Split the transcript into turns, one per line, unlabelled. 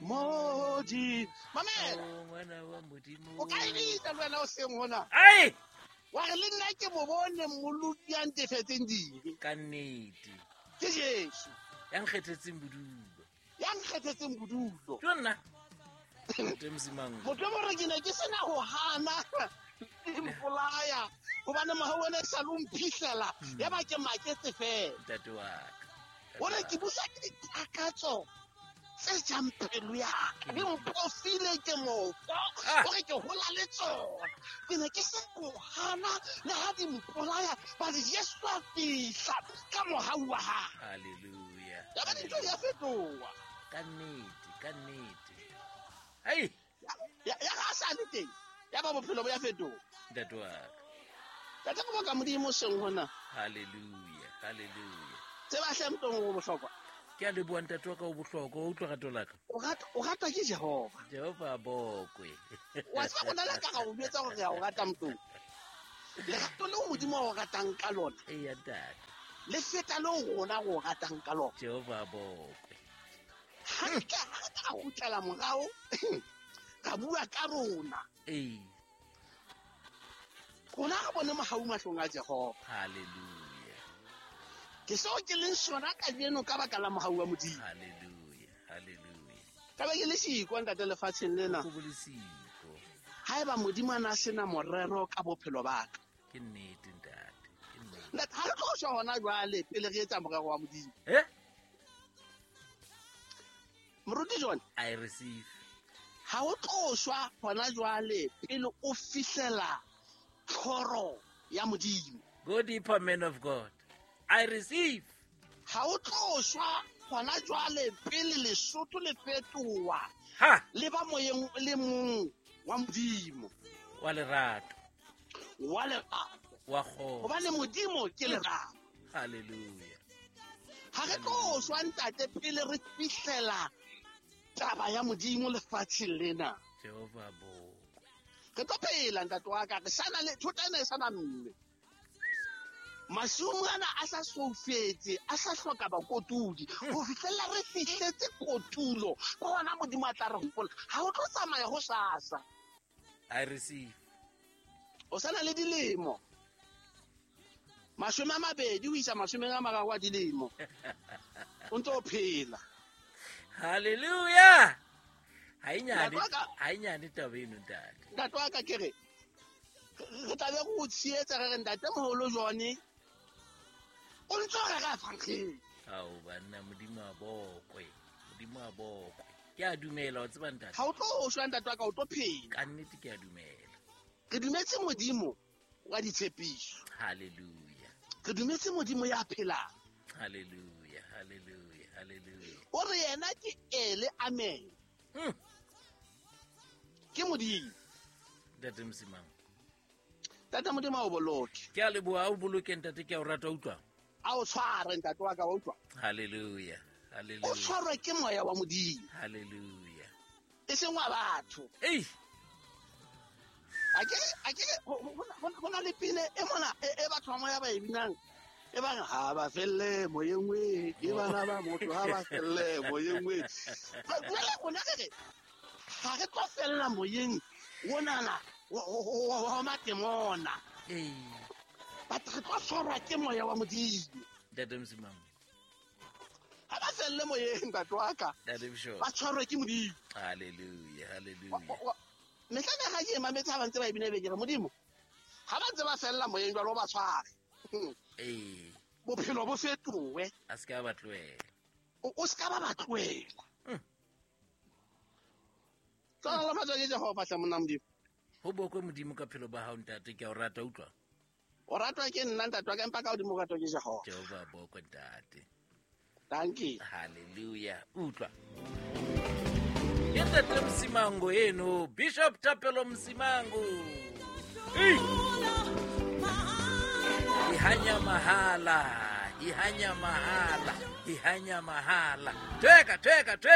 Modi mamela.
O ngwana wa Modimo.
O ka e bitsa le wena o seng hona.
Ai!
Wa re le nna ke mo bone mmoloki ya ntefetseng dibe.
Ka nnete.
Ke Jesu.
Ya nkgethetseng bodulo.
Ya nkgethetseng bodulo.
Ke nna. Ntate Msimang.
Motho mo re ke ne ke sena ho hana mpolaya hobane mohau ona e sa le o mphihlela ya ba ke maketse fela.
Ntate wa ka.
O re ke busa ke ditakatso tse jang pelo ya ka, di mpofile ke mofo.
Ah.
O re ke hola le tsona, ke ne ke se go hana le ha di mpolaya, but Jesu a fihla ka mohau wa hae.
Hallelujah.
Ya ba dintho di a fetoha.
Ka nnete, ka nnete. Ai,
Ya ga a sa le teng, ya ba bophelo bo ya fetoha.
ntate wa ka.
Tate go boka Modimo seng hona.
Hallelujah, hallelujah.
Tseba hle motong o bohlokwa.
Ke a leboha ntate wa ka, o bohlokwa, o utlwa rato la ka.
O ratwa ke Jehova.
Jehova a bokwe.
Wa tseba rona le ka ra o jwetsa hore re a o rata motong. Lerato leo Modimo a o ratang ka lona,
Eya ntate.
le feta leo rona re o ratang ka lona.
Jehova a bokwe.
Ha re ka ra kgutlela morao, ra bua ka rona.
Ee.
Rona re bone mohau mahlong a Jehova.
Hallelujah.
Ke seo ke leng sona kajeno ka baka la mohau wa Modimo.
Hallelujah, hallelujah.
Ka ba ke le siko ntate lefatsheng lena.
Go bole siko.
Haeba Modimo a na sena morero ka bophelo ba ka.
Ke nnete ntate, ke nnete.
Ntate, ha re tlo shwa hona jwale pele re etsa morero wa Modimo.
Eh?
Moruti John,
I receive.
ha o tlo shwa hona jwale pele o fihlela tlhoro ya Modimo.
Go deeper, man of God. I receive.
Ha o tlo shwa hona jwale pele Lesotho le fetoha
Ha!
le ba moyeng o le mong wa Modimo.
Wa lerato.
Wa lerato.
Wa kgotso.
Hobane Modimo ke lerato.
Hallelujah.
Ha re tlo shwa ntate pele re fihlela taba ya Modimo lefatsheng lena.
Jehova a bokwe.
Re tlo phela ntate wa ka, re sana le thota ena e sana mme. Masumu ana a sa soufetse, a sa hloka bakotudi. Ho fihlella re fihletse kotulo, ke hona Modimo a tla re hopola. Ha o tlo tsamaya ho sasa.
I receive.
O sana le dilemo. 20 ho isa 30 a dilemo. O ntso o phela.
Hallelujah. Ha e nyane,
Ntate wa ka-
ha e nyane taba eno ntate.
Ntate wa ka ke re, re tla be re o tshehetsa re re ntate moholo John o ntso rera evangelii.
Ao banna, Modimo a bokwe. Modimo a bokwe. Ke a dumela, wa tseba ntate.
Ha o tlo shwa ntate wa ka, o tlo phela.
Ka nnete ke a dumela.
Re dumetse Modimo wa ditshepiso.
Hallelujah.
Re dumetse Modimo ya phelang.
Hallelujah, hallelujah, hallelujah.
O re yena ke ele amen. Ke Modimo.
Ntate Msimang.
Ntate Modimo a o boloke.
Ke a leboha, a o boloke ntate, ke a o rata, utlwa.
A o tshware ntate wa ka, wa utlwa.
Hallelujah,
O
hallelujah.
tshwarwe ke moya wa Modimo.
Hallelujah.
E seng wa batho.
Ei!
A ke ho na le pina e mona e batho ba moya ba e binang. E bang ha ba felle moyeng we, ke bana ba motho ha ba felle moyeng we. Jwale rona re re, ha re tlo fella moyeng onana wa matemona.
Ei.
But re tlo tshwarwa ke moya wa Modimo.
Ntate Msimang.
Ha ba felle moyeng ntate wa ka.
Ntate Bishop.
Ba tshwarwe ke Modimo.
Hallelujah, hallelujah.
Mehla ne ha ke mametse ha ba ntse ba e bina be ke re Modimo. Ha ba ntse ba fella moyeng jwalo ba tshware.
Ee.
Bophelo bo fetohe.
A se ka ba tlohela.
O se ka ba ba tlohela. Tsala ke Jehova hle monna Modimo.
Ho bokwe Modimo ka phelo ba hao ntate, ke a o rata, utlwa.
O ratwa ke nna ntate wa ka, empa ka hodimo o ratwa ke Jehova.
Jehova a bokwe ntate.
Dankie.
Hallelujah. Utlwa. Ke ntate Msimango eno, Bishop Thapelo Msimango. Ei! Ihanya mahala, ihanya mahala, ihanya mahala. Tweka, tweka, tweka.